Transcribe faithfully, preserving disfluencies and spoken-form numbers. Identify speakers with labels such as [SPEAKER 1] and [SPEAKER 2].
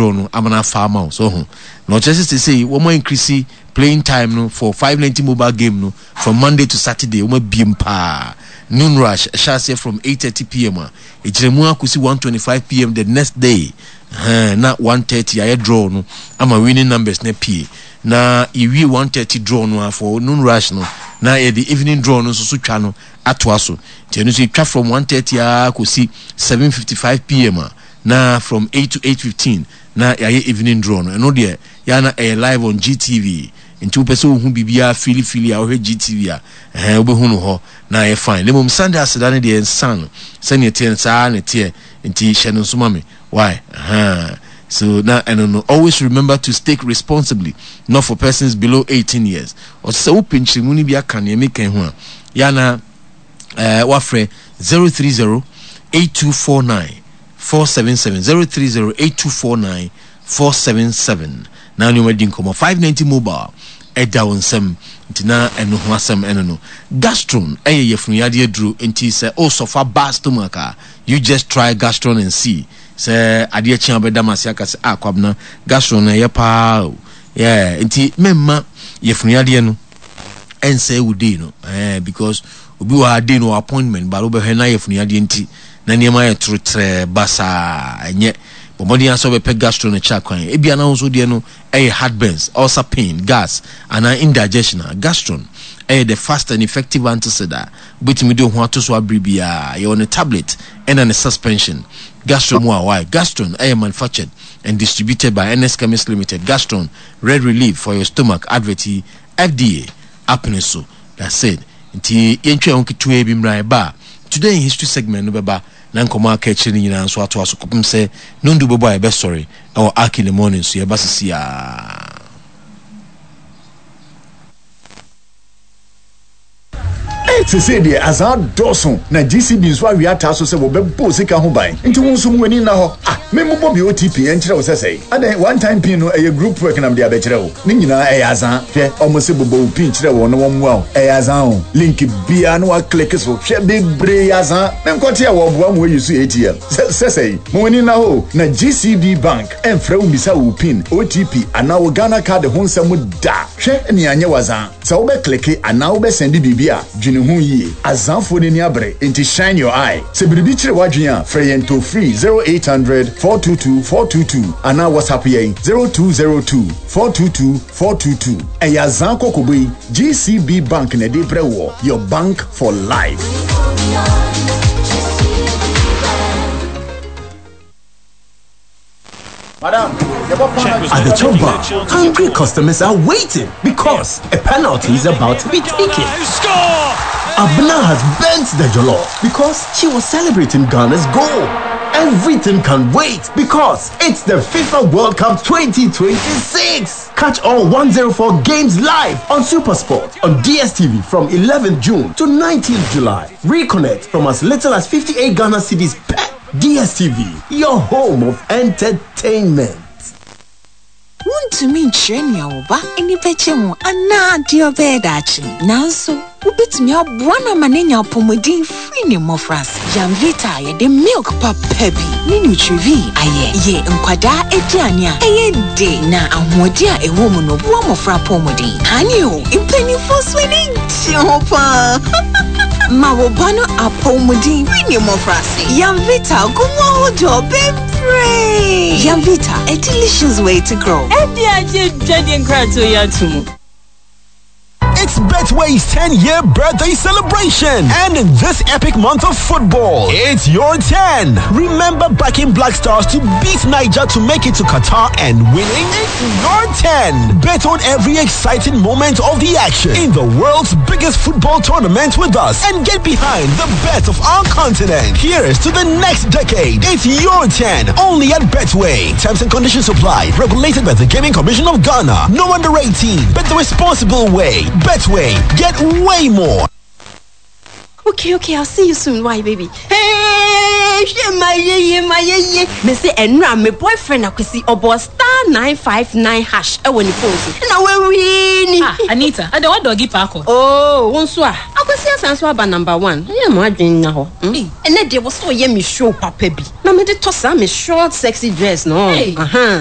[SPEAKER 1] draw no ama no afa ama wo so ho. Na ɔkyerɛ sɛ sesei wɔn increase playing time no for five ninety mobile game no from Monday to Saturday. Wɔn abiem paa. Noon rush ɛhyɛ aseɛ from eight thirty pm a ɛgyina mu akɔsi one twenty five pm the next day. Ɛhɛn, na one thirty ayɛ draw no ama winning numbers na pie, na yɛwie one thirty draw no a for noon rush no, na yɛde evening draw no nso so twa no atoa so. Nti ɛno nso yɛtwa from one thirty a kɔsi seven fifty five pm a, na from eight to eight fifteen na yɛayɛ evening draw no. Ɛno deɛ yɛa ɛyɛ live on G T V, nti wopɛ sɛ wohu biribiara filifili a, wohwɛ G T V a, ɛhɛn, wobɛhu no hɔ na ɛyɛ fine. Na mmom Sunday aseda no deɛ, nsa no sɛneɛ teɛ no saa na ɛteɛ, nti hyɛ no nso ma me why. uh-huh. So na ɛno no, always remember to stake responsibly. Not for persons below eighteen years. Ɔsɛ sɛ wopɛ nkyerɛmu no bi aka nea meka ho a, yɛana uh, wafrɛ zero three zero eight two four nine four seven seven, zero three zero eight two four nine four seven seven, na nneɛma di nkɔmmɔ. five ninety mobile ɛda wo nsɛm, nti na ɛno ho asɛm ɛno no. Gastron ɛyɛ yɛfunuyadeɛ duro, nti sɛ ɔsɔfa bad stomach a, you just try Gastron and see sɛ adeɛ kye a wobɛda m ase aka sɛ, "Ah, Kwabena, Gastron no ɛyɛ paa o." Yeah, nti mɛmma yɛfunuyadeɛ no ɛnsɛe wo day no, eh, because obi wɔ ha, day no wɔ appointment, but wobɛhwɛ na yɛfunuyadeɛ nti na nneɛma yɛ toro trɛɛ basaa. Ɛnyɛ bɔmmɔden asɛ wobɛpɛ Gastro no kyɛ kwan. Ebia na wo nso deɛ no ɛyɛ heartburns, ulcer pain, gas anaa indigestion a, Gastron ɛyɛ the fast and effective antacid a wobɛtumi de wo ho ato so abere biara. Yɛwɔ ne tablet ɛna ne suspension. Gastron mu a why. Gastron ɛyɛ manufactured and distributed by N S Chemist Limited. Gastron, red relief for your stomach. Advert yi, F D A apene so. That's it. Nti yɛntwa ho ketewa bi mmra. Ɛba a, Today in History segment no bɛba na nkɔmmɔ aka akyire no nyinaa nso atoa so kɔpem sɛ nondu bɛbɔ a yɛbɛsɔre ɛwɔ Ark in the Morning so. Yɛba sisi a.
[SPEAKER 2] Sese deɛ, azan dɔɔso na G C B nso awie ataa so sɛ wɔbɛbɔ sika ho ban, nti wo nso mu ani nna hɔ. Ah, memmobɔ bi O T P ɛnkyerɛ wo sɛ sɛe adɛn. One time pin no ɛyɛ group work nam de abɛkyerɛ wo ne nyinaa ɛyɛ azan. Hwɛ, ɔmo se bobɔ wo pin kyerɛ wɔn na wɔmmoa wo, ɛyɛ azan o. Link biara na waclick so, hwɛ, bebree azan. Menkɔte a wɔboa mo ayi so A T M sɛ sɛe. Mo ani nna hɔ na G C B Bank ɛmfrɛ wo mmisa wo pin, O T P anaa wo Ghana Card ho nsɛm da. Hwɛ, nea anyɛ wazan sɛ wobɛclick anaa wobɛsend biribi a, dwene ho yie. Azanfoɔ n'ani abere, nti shine your eye. Sɛ biribi kyerɛ w'adwene a, frɛ yɛn toll free zero eight hundred four two two four two two anaa WhatsApp yɛn zero two zero two four two two four two two. Ɛyɛ azan kɔkɔbɔ yi, G C B Bank na ɛde brɛ wɔ, your bank for life.
[SPEAKER 3] At the chop bar, hungry customers are waiting because a penalty is about to be taken.
[SPEAKER 4] Score!
[SPEAKER 3] Abna has burnt the jollof because she was celebrating Ghana's goal. Everything can wait because it's the FIFA World Cup twenty twenty-six. Catch all one hundred four games live on Supersport on D S T V from eleventh June to nineteenth July. Reconnect from as little as fifty-eight Ghana cedis per. D S T V, your home of entertainment.
[SPEAKER 5] Wontumi nkyerɛ nea wo ba ani bɛgye ho anaa deɛ ɔbɛyɛ daakye, nanso wobɛtumi aboa no ama n'anya apɔmuden firi ne mmɔfraase. Yamvita a yɛde milk papa bi ne Nutrivi ayɛ yɛ nkwadaa aduane a ɛyɛ de, na ahoɔden a ɛwɔ mu no boa mmɔfra apɔmuden. Ane o, mpanimfoɔ so ani gye ho paa. Ma wo ba no apɔmuden firi ne mmɔfraase. Yamvita gu mu ahodoɔ bebree. Yamvita, a delicious way to grow.
[SPEAKER 6] Ɛdi agye dwadie nkratoɔ yi ato mu.
[SPEAKER 7] It's Betway's ten year birthday celebration. And in this epic month of football, it's your ten. Remember backing Black Stars to beat Niger to make it to Qatar and winning? It's your ten. Bet on every exciting moment of the action in the world's biggest football tournament with us and get behind the best of our continent. Here's to the next decade. It's your ten. Only at Betway. Terms and conditions apply. Regulated by the Gaming Commission of Ghana. No under eighteen. Bet the responsible way. Betway. Get way more.
[SPEAKER 8] Okay, okay, I'll see you soon. Why, baby? Hey, my ye, my ye. Me say, ɛnora me boyfriend Akwesi ɔbɔ star nine five nine hash ɛwɔ ne phone so. Na wawin.
[SPEAKER 6] Ah, Anita, ade wa doggy paako.
[SPEAKER 8] Oh, wo nso a. Akwesi asan so aba number one. Ɛyɛ mo adwene na hɔ. Ɛnɛ deɛ wɔ so ɔyɛ me show papa bi. Na me de tɔ saa me short sexy dress no.
[SPEAKER 6] Hey.
[SPEAKER 8] Aha.